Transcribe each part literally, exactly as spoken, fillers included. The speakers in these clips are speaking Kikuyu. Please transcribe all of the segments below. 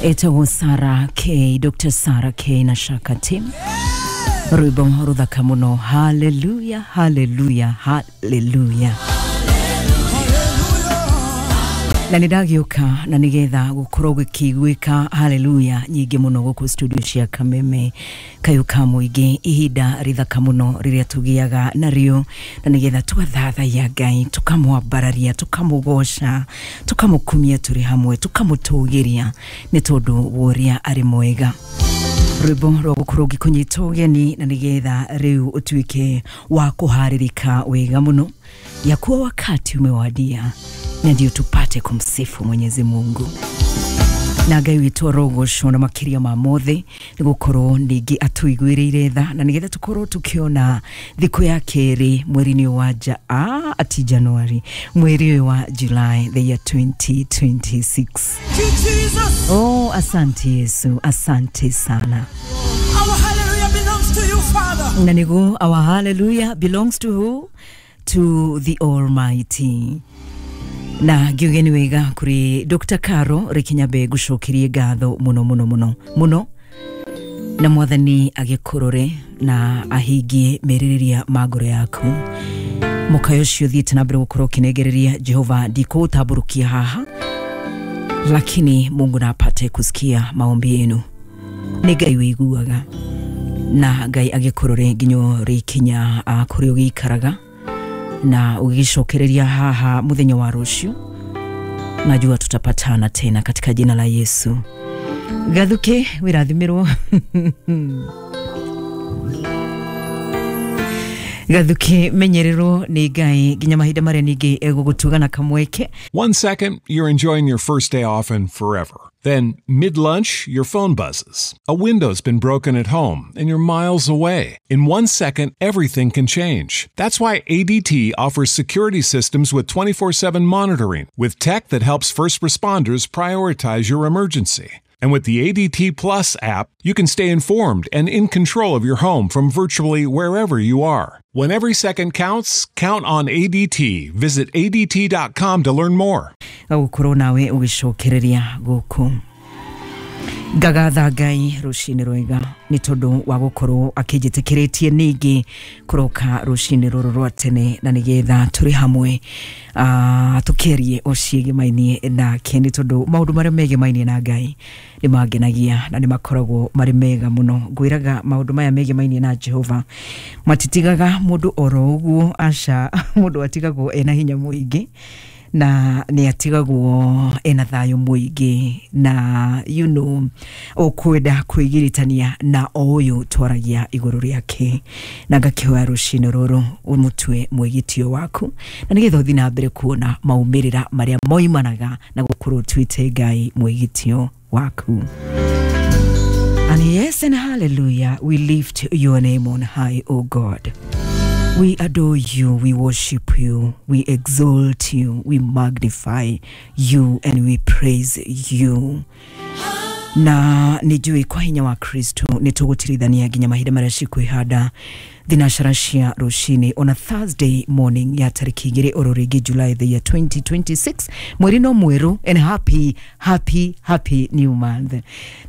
Etagwo Sarah K, Doctor Sarah K na Shaka Team. Rwĩmbo rũthaka mũno. Hallelujah, hallelujah, hallelujah. Na nĩ ndagĩũka na nĩgetha gũkorwo gũkĩiguĩka haleluya nyingĩ mũno gũkũ studio cia Kameme kayũ ka mũingĩ, ihinda rĩthaka mũno rĩrĩa tũgĩaga narĩo na nĩgetha tũgathathaiya Ngai, tũkamwambararia, tũkamũgoca, tũkamũkumia tũrĩ hamwe, tũkamũtũgĩria nĩ tondũ wa ũrĩa arĩ mwega. Rwĩmbo rwa gũkorwo ngĩkũnyita ũgeni na nĩgetha rĩu ũtuĩke wa kũharĩrĩka wega mũno ya kuwa wakati umewadia na ndio tupate kumsifu Mwenyezi Mungu na Ngai witũ arogocwo na makĩria ma mothe nĩ gũkorwo ningĩ atũiguĩrĩire tha na nĩgetha tũkorwo tũkĩona thikũ ya kerĩ mweri-inĩ wa ja, ah, ati January, mweri ũyũ wa July the year twenty twenty-six. Oh, asante Yesu, asante sana. Our hallelujah belongs to you, Father. Na nĩguo our hallelujah belongs to who? To the Almighty. Na ngiuge nĩ wega kũrĩ Doctor Caro Rĩkinyabe, ngũcokerie ngatho mũno mũno mũno mũno, na mwathani agĩkũrore na ahingie merirĩria ma ngoro yaku. Mũkayo ũcio ũthiĩte na mbere gũkorwo ũkĩnengereria Jehova, ndikũũtambũrũkia haha, lakini Mungu na apate kusikia maombi yenu. Nĩ Ngai wĩiguaga na Ngai agĩkũrore nginya ũrĩkinya kũrĩa ũgĩikaraga na ũgĩcokereria haha mũthenya wa rũciũ. Najua tutapatana tena katika jina la Yesu. Gathuke wĩrathimirwo. Gathuke menyererwo nĩ Ngai nginya mahinda marĩa ningĩ egũgũtuga na kamweke. One second, you're enjoying your first day off and forever. Then, mid-lunch, your phone buzzes. A window's been broken at home, and you're miles away. In one second, everything can change. That's why A D T offers security systems with twenty-four seven monitoring, with tech that helps first responders prioritize your emergency. And with the A D T Plus app, you can stay informed and in control of your home from virtually wherever you are. When every second counts, count on A D T. Visit A D T dot com to learn more. Gũkorwo nawe ũgĩcokereria gũkũ. Ngagatha Ngai rũcinĩ rwega nĩ tondũ wa gũkorwo akĩnjĩtĩkĩrĩtie ningĩ kũroka rũcinĩ rũrũ rwa tene na nĩgetha tũrĩ hamwe uh, tũkĩarie o ciĩgĩmainie nake nĩ tondũ maũndũ marĩa megemainie na Ngai nĩ mangenagia na nĩ makoragwo marĩ mega mũno. Ngwĩraga maũndũ maya megemainie na Jehova matitigaga mũndũ oro ũguo, aca, mũndũ atigagwo ena hinya mũingĩ na nĩ atigagwo ena thayũ mũingĩ na you know ũkwenda kwĩgiritania na o ũyũ twaragia igũrũ rĩake. Na ngakĩhoya rũcinĩ rũrũ ũmũtue mwĩgitio waku na nĩgetha ũthiĩ na mbere kuona maumĩrĩra marĩa moimanaga na gũkorwo ũtuĩte Ngai mwĩgitio waku. And yes and hallelujah, we lift your name on high, O God. We adore you, we worship you, we exalt you, we magnify you, and we praise you. Na nijui kwa hinya wa Kristo nĩtũgũtirithania nginya mahinda marĩa cikwĩhanda thinacara cia rũcinĩ on a Thursday morning ya tarĩki igĩrĩ oro rĩngĩ July the year twenty twenty-six, mweri no mwerũ, and happy happy happy new month.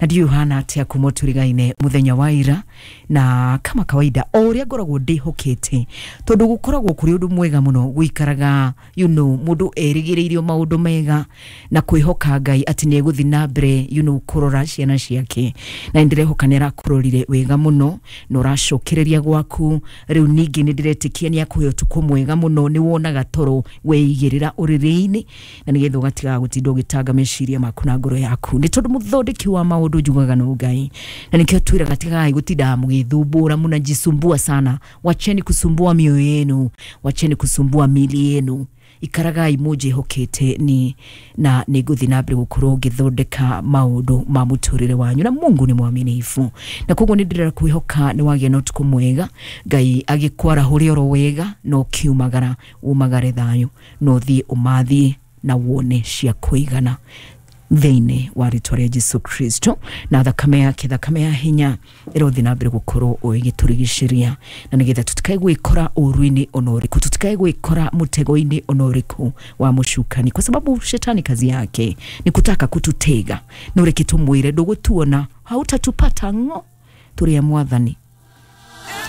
Na ndiũĩ ũhana atĩa kuma tũrigaine mũthenya wa ira, na kama kawaida o ũrĩa ngoragwo ndĩhokete tondũ gũkoragwo kũrĩ ũndũ mwega mũno gũikaraga you know mũndũ erĩgĩrĩirio maũndũ mega na kwĩhoka Ngai atĩ nĩ egũthiĩ na mbere you know kũrora ciana ciake, na nĩndĩrehoka nĩ arakũrorire wega mũno na ũracokereria gwaku. Rĩu ningĩ nĩ ndĩretĩkia nĩ akũhe ũtukũ mwega mũno, nĩ wonaga toro weigĩrĩra ũrĩrĩ-inĩ na nĩgetha ũgatigaga gũtinda ũgĩtanga meciria maku na ngoro yaku nĩ tondũ mũthondeki wa maũndũ njugaga no Ngai. Na nĩkĩo twĩraga tigai gũtinda mũgĩthumbũra, mũnajisumbua sana, wacheni kusumbua mioyo yenu, wacheni kusumbua mili yenu, ikaragai mũnjĩhokete ni na nĩngũthiĩ na mbere gũkorwo ngĩthondeka maũndũ ma mũtũrĩre wanyu, na Mungu nĩ mwaminifu. Na koguo nĩ ndĩrera kwĩhoka nĩ wagĩa na ũtukũ mwega, Ngai agĩkwarahũre oro wega na ũkiumagara umagare thayũ na ũthiĩ ũmathiĩ na wone cia kũigana. Thĩinĩ wa rĩtwa rĩa Jesu Kristo na thakame yake, thakame ya hinya ĩrothi na mbere gũkorwo ĩgĩtũrigicĩria, na nĩgetha tũtikae gwĩkora ũru-inĩ ona ũrĩkũ, tũtikae gwĩkora mũtego-inĩ ona ũrĩkũ wa mũcukani, kwa sababu shetani kazi yake ni kutaka kututega. No reke tũmwĩre ndũgũtuona, hautatupata ng'o, tũrĩ a Mwathani.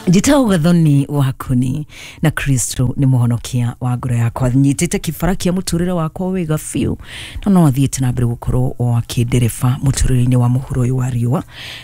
Njĩtagwo Gathoni Wakuni na Kristo nĩ mũhonokia wa ngoro yakwa. Nyitĩte kĩbara kĩa mũtũrĩre wakwa wega biũ, na no athiĩte na mbere gũkorwo o akĩndereba mũtũrĩre-inĩ wa mũhuro ũyũ wa riũa,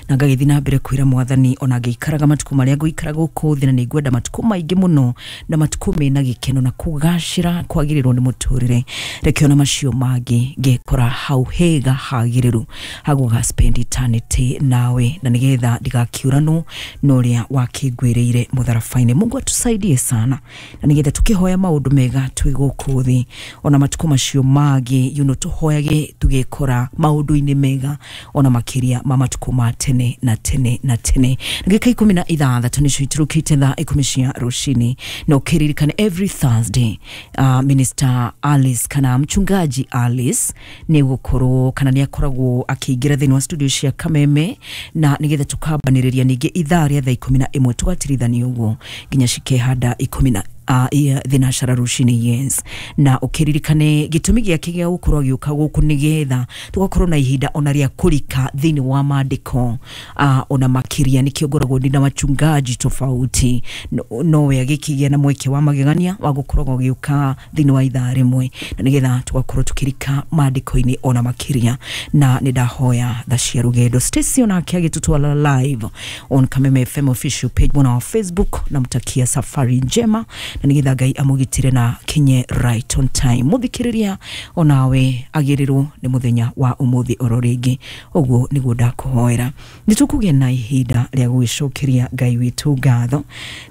na ngagĩthiĩ na mbere kwĩra Mwathani ona ngĩikaraga matukũ marĩa ngũikara gũkũ thĩ, na nĩ ngwenda matukũ maingĩ mũno na matukũ mena gĩkeno na kũgacĩra kwagĩrĩrwo nĩ mũtũrĩre. Reke ona macio mangĩ ngekora hau hega hagĩrĩru hagũga spend eternity nawe, na nĩgetha ndigakiũranwo na ũrĩa wakĩngwĩrĩire mũtharaba-inĩ. Mungu atusaidie sana, na nĩgetha tũkĩhoya maũndũ mega twĩ gũkũ thĩ, ona matukũ macio mangĩ you know, tũhoyage tũgĩkora maũndũ-inĩ mega ona makĩria ma matukũ ma tene na tene na tene. Ndagĩka ikũmi na ithathatũ nĩcio iturũkĩte thaa ikũmi cia rũcinĩ, na ũkĩririkane every Thursday uh, Minister Alice kana mchungaji Alice nĩ gũkorwo kana nĩ akoragwo akĩingĩra thĩinĩ wa studio cia Kameme, na nĩgetha tũkambanĩrĩria ningĩ ithaa rĩa thaa ikũmi na ĩmwe tũgatirithania ũguo nginya cikehanda ikũmi na uh, thinacara rũcinĩ. Yes, na ũkĩririkane gĩtũmi gĩake gĩa gũkorwo agĩũka gũkũ nĩgetha tũgakorwo na ihinda ona rĩa kũrika thĩinĩ wa maandĩko uh, ona makĩria. Nĩkĩo ngoragwo ndĩ na wachungaji tofauti, no, nowe agĩkĩgĩa na mweke wa magegania wa gũkoragwo agĩũka thĩinĩ wa ithaa rĩmwe, na nĩgetha tũgakorwo tũkĩrika maandĩko-inĩ ona makĩria. Na nĩ ndahoya tha cia rũgendo Stacy onake agĩtũtwara live on Kameme F M official page mwena wa Facebook, namtakia safari njema na nĩgetha Ngai amũgitĩre na kinye right on time. Mũthikĩrĩria onawe agĩrĩrwo nĩ mũthenya wa ũmũthĩ oro rĩngĩ, ũguo nĩguo ndakũhoera. Nĩ tũkũgĩa na ihinda rĩa gũgĩcokeria Ngai witũ ngatho,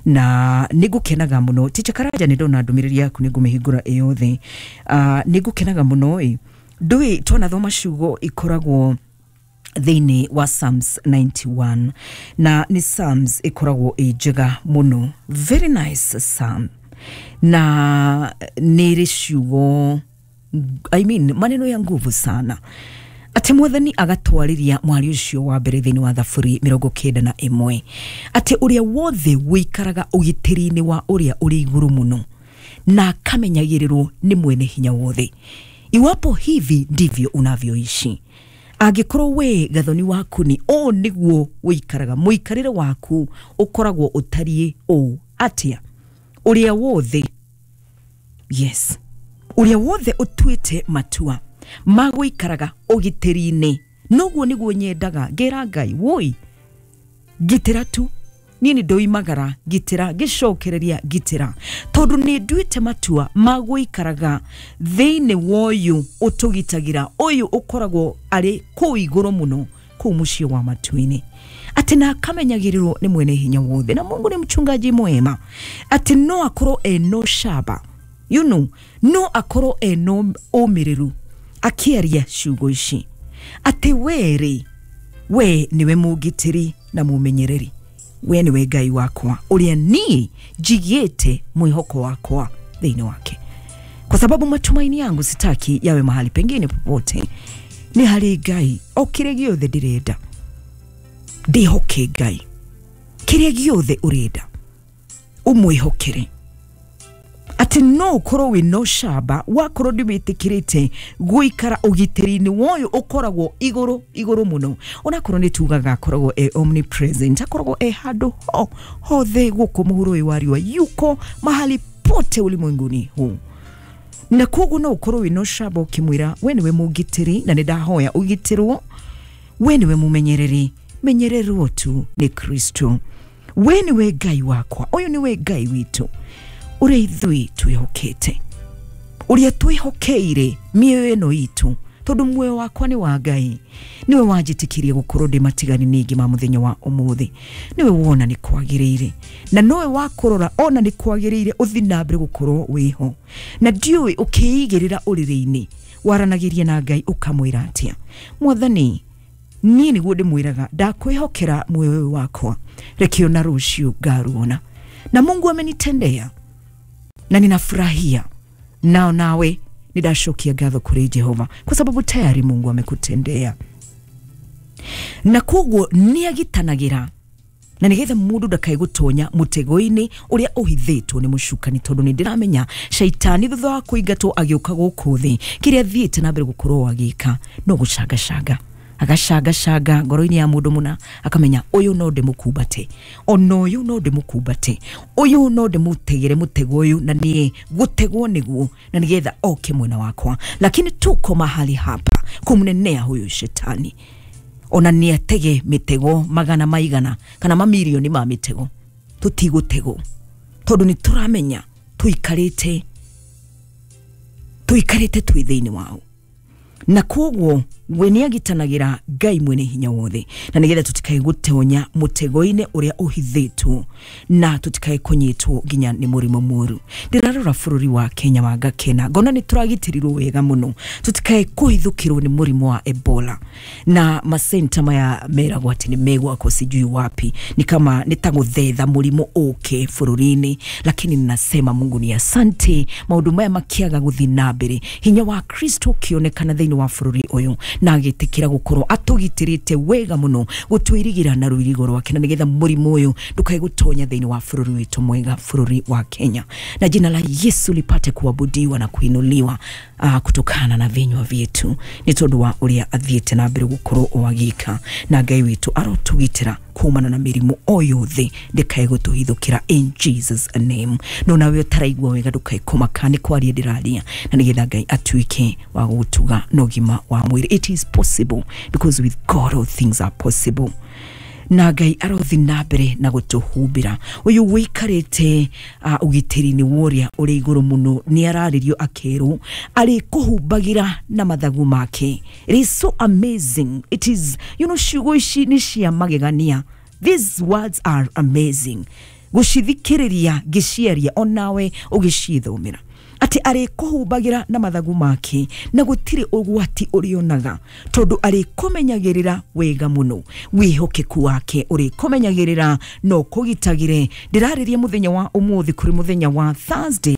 na nĩ ngũkenaga mũno. Ticha Karanja, nĩ ndona ndũmĩrĩri yaku, nĩ ngũmĩhingũra ĩyothe. Uh, nĩ ngũkenaga mũno ĩ ndũĩ twanathoma ciugo ikoragwo thĩinĩ wa Psalms ninety-one, na nĩ Psalms ĩkoragwo ĩ njega mũno, very nice psalm, na nĩ ĩrĩ ciugo, I mean maneno ya nguvu sana, atĩ Mwathani agatwarĩria mwari ũcio wa mbere thĩinĩ wa Thaburi mĩrongo kenda na ĩmwe, atĩ ũrĩa wothe wĩikaraga ũgitĩri-inĩ wa ũrĩa ũrĩ igũrũ mũno na akamenyagĩrĩrwo nĩ mwene hinya wothe. Iwapo hivi ndivyo unavyoishi, angĩkorwo we Gathoni waku ni ũũ nĩguo wĩikaraga, mũikarĩre waku ũkoragwo ũtariĩ ũũ atĩa, ũrĩa wothe, yes, ũrĩa wothe ũtuĩte matua ma gũikaraga ũgitĩri-inĩ, noguo nĩguo nyendaga ngĩra Ngai woi ngitĩra tu, niĩ nĩ ndoimagara ngitĩra, ngĩcokereria ngitĩra, tondũ nĩ nduĩte matua ma gũikaraga thĩinĩ wa ũyũ ũtũgitagĩra, ũyũ ũkoragwo arĩ kũu igũrũ mũno, kũu mũciĩ wa matu-inĩ, atĩ na akamenyagĩrĩrwo nĩ mwene hinya wothe. Na Mungu ni mchungaji mwema, atĩ no akorwo eno shaba, you know, no akorwo eno ũmĩrĩru akĩaria ciugo ici, atĩ werĩ we nĩwe mũgitĩri na mũmenyereri, we nĩwe Ngai wakwa ũrĩa niĩ njigĩte mwĩhoko wakwa thĩinĩ wake, kwa sababu matumaini yangu sitaki yawe mahali pengine popote, nĩ harĩ Ngai. O kĩrĩa gĩothe ndĩrenda ndĩhoke Ngai, kĩrĩa gĩothe ũrenda ũmwĩhokere, atĩ no ũkorwo wĩna ũcamba wakorwo ndĩwĩtĩkĩrĩte gũikara ũgitĩri-inĩ woyũ ũkoragwo igũrũ igũrũ mũno, onakorwo nĩ tugaga akoragwo e omnipresent, akoragwo e handũ ho hothe gũkũ mũhuro ũyũ wa riũa, yuko mahali pote ulimwenguni huu. Na koguo no ũkorwo wĩna ũcamba ũkĩmwĩra we nĩwe mũgitĩri na nĩ ndahoya ũgitĩrwo, we nĩwe mũmenyereri, menyererwo tu nĩ Kristo, we nĩwe Ngai wakwa, ũyũ nĩwe Ngai witũ ũrĩa ithuĩ twĩhokete, ũrĩa twĩhokeire mĩoyo ĩno itũ, tondũ muoyo wakwa nĩ wa Ngai, nĩwe wanjĩtĩkirie gũkorwo ndĩ matigani ningĩ ma mũthenya wa ũmũthĩ, nĩwe wona nĩ kwagĩrĩire, na nowe wakũrora ona nĩ kwagĩrĩire ũthiĩ na mbere gũkorwo wĩho. Na ndiũĩ ũkĩigĩrĩra ũrĩrĩ-inĩ waranagĩria na Ngai ũkamwĩra atĩa, Mwathani niĩ nĩguo ndĩmwĩraga ndakwĩhokera muoyo ũyũ wakwa, reke ona rũciũ ngaruona, na Mungu amenitendea na ninafurahia nao, nawe Nĩ ndacokia ngatho kũrĩ Jehova kwa sababu tayari Mungu amekutendea. Na koguo nĩ agitanagĩra na nigetha mundu ndakae gutonya mutego-inĩ ũrĩa ũhithĩtwo nĩ mũcukani, tondũ nĩ ndĩramenya shaitani thutha wa kũingatwo agĩũka gũkũ thĩ kĩrĩa athiĩte na mbere gũkorwo agĩka no gũcangacanga, agacangacanga ngoro-inĩ ya mũndũ mũna, akamenya ũyũ no ndĩmũkumbate, ona ũyũ no ndĩmũkumbate, ũyũ no ndĩmũtegere mũtego ũyũ na niĩ gũtegwo nĩguo, na nĩgetha oke mwena wakwa. Lakini tuko mahali hapa kumnenea huyu shetani, ona nĩ atege mĩtego magana maigana kana mamirioni ma mĩtego, tũtigũtegwo tondũ nĩ tũramenya tũikarĩte tũikarĩte twĩ thĩinĩ wao. Na koguo we nĩ agitanagĩra Ngai mwene hinya wothe, na nĩgetha tũtikae gũtonya mũtego-inĩ ũrĩa ũhithĩtwo na tũtikae kũnyitwo nginya nĩ mũrimũ mũru. Ndĩrarora bũrũri wa Kenya wa ngakena ngona nĩ tũragitĩrirwo wega mũno tũtikae kũhithũkĩrwo nĩ mũrimũ wa Ebola, na masenta maya meragwo atĩ nĩ megwakwo sijui wapi, ni kama nĩ ta gũthetha mũrimũ ũke bũrũri-inĩ. Lakini ninasema Mungu ni asante, maũndũ maya makĩaga gũthiĩ na mbere, hinya wa Kristo ũkĩonekana thĩinĩ wa bũrũri ũyũ, na agĩtĩkĩra gũkorwo atũgitĩrĩte wega mũno gũtwĩrigĩra na rũirigo rwake, na nĩgetha mũrimũ ũyũ ndũkae gũtonya thĩinĩ wa bũrũri witũ mwega, bũrũri wa Kenya, na jina la Yesu lipate kuabudiwa na kuinuliwa uh, kutokana na vinywa vyetu, nĩ tondũ wa ũrĩa athiĩte na mbere gũkorwo o agĩka, na Ngai witũ arotũgitĩra kumana na mĩrimũ o yothe ndĩkae gũtũhithũkĩra in Jesus name. No nawe ũtaraigua wega ndũkae kũmaka, nĩ kwaria ndĩraria, na nĩgetha Ngai atuĩke wa gũgũtuga na ũgima wa mwĩrĩ. It is possible because with God all things are possible. Na Ngai arothi na mbere na gũtũhumbĩra. Ũyũ wĩikarĩte uh, ũgitĩri-inĩ wa ũrĩa ũrĩ igũrũ mũno nĩ ararĩrio akerwo arĩkũhumbagĩra na mathagu make. It is so amazing. It is, you know, ciugo ici nĩ cia magegania. These words are amazing. Gũcithikĩrĩria ngĩciaria onawe ũgĩcithomera atĩ arĩkũhumbagĩra na mathagu make na gũtirĩ ũgwati ũrĩonaga, tondũ arĩkũmenyagĩrĩra wega mũno. Wĩhokeku wake ũrĩkũmenyagĩrĩra no kũgitagĩre. Ndĩrarĩria mũthenya wa ũmũthĩ kũrĩ mũthenya wa Thursday,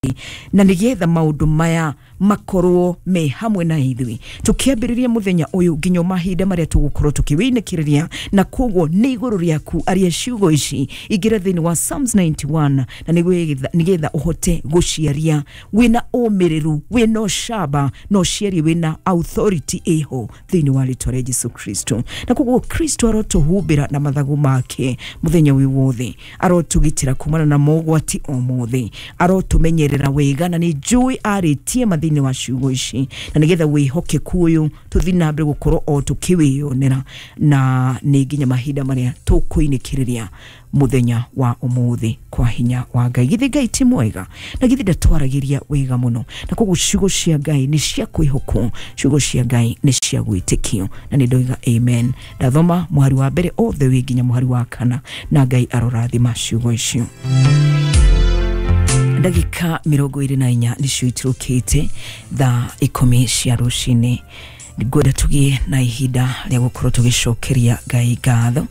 na nĩgetha maũndũ maya makorwo me hamwe na ithuĩ tũkĩambĩrĩria mũthenya ũyũ nginya mahinda marĩa tũgũkorwo tũkĩwĩinĩkĩrĩria. Na koguo nĩ igũrũ rĩaku aria ciugo ici, ingĩra thĩinĩ wa Psalms ninety-one, na nĩgetha ũhote gũciaria wĩna ũmĩrĩru, wĩna ũcamba, na ũciarie wĩna authority ĩho thĩinĩ wa rĩtwa rĩa Jesu Kristo. Na koguo Kristo arotũhumbĩra na mathagu make mũthenya wĩ wothe, arotũgitĩra kumana na mogwati o mothe, arotũmenyerera wega, na nĩ njũĩ arĩtie mathĩinĩ wa ciugo ici, na nĩgetha wĩhokeku ũyũ tũthiĩ na mbere gũkorwo o tũkĩwĩyonera, na nĩ nginya mahinda marĩa tũkũinĩkĩrĩria mũthenya wa ũmũthĩ kwa hinya wa Ngai. Githĩ Ngai ti mwega? Na githĩ ndatwaragĩria wega mũno? Na koguo ciugo cia Ngai nĩ cia kwĩhokwo, ciugo cia Ngai nĩ cia gwĩtĩkio, na nĩ ndoiga amen. Ndathoma mũhari wa mbere othe wĩ nginya mũhari wa kana, na Ngai arorathima ciugo icio. Ndagĩka mĩrongo ĩrĩ na inya nĩcio itirũkĩte thaa ikũmi cia rũcinĩ. Ngwenda tũgĩe na ihinda rĩa gũkorwo tũgĩcokeria Ngai ngatho,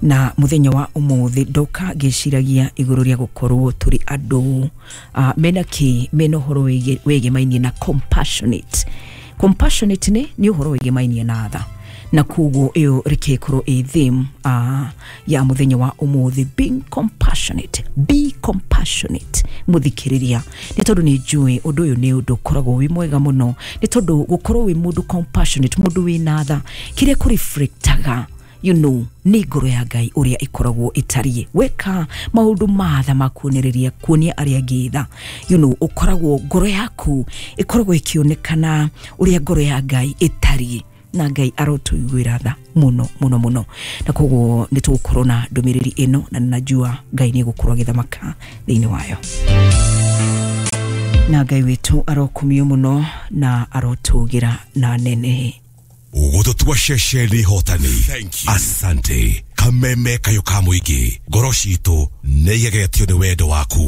na mũthenya wa ũmũthĩ ndoka ngĩciragia igũrũ rĩa gũkorwo tũrĩ andũ uh, mena kĩ mena ũhoro wĩgĩmainie na compassionate. Compassionate nĩ nĩ ũhoro wĩgĩmainie na tha, na koguo ĩyo reke ĩkorwo ĩ theme uh, ya mũthenya wa ũmũthĩ, being compassionate. Be compassionate mũthikĩrĩria, nĩ tondũ nĩ njũĩ ũndũ ũyũ nĩ ũndũ ũkoragwo wĩ mwega mũno, nĩ tondũ gũkorwo wĩ mũndũ compassionate, mũndũ wĩna tha, kĩrĩa kũreflectaga you know nĩ ngoro ya Ngai ũrĩa ĩkoragwo ĩtariĩ. Weka maũndũ ma tha ma kuonereria kuonia arĩa angĩ tha, you know ũkoragwo ngoro yaku ĩkoragwo ĩkĩonekana ũrĩa ngoro ya Ngai ĩtariĩ, na Ngai arotũiguĩra tha mũno mũno mũno. Na koguo nĩ tũgũkorwo na ndũmĩrĩri ĩno, na ninajua Ngai nĩ egũkorwo agĩthamaka thĩinĩ wayo. Na Ngai witũ arokumio mũno na arotũgĩra na nene. Ũgũtũtua ceceni hotani. Asante. Kameme kayo ka mũingĩ, ngoro citũ nĩ igegetio nĩ wendo waku.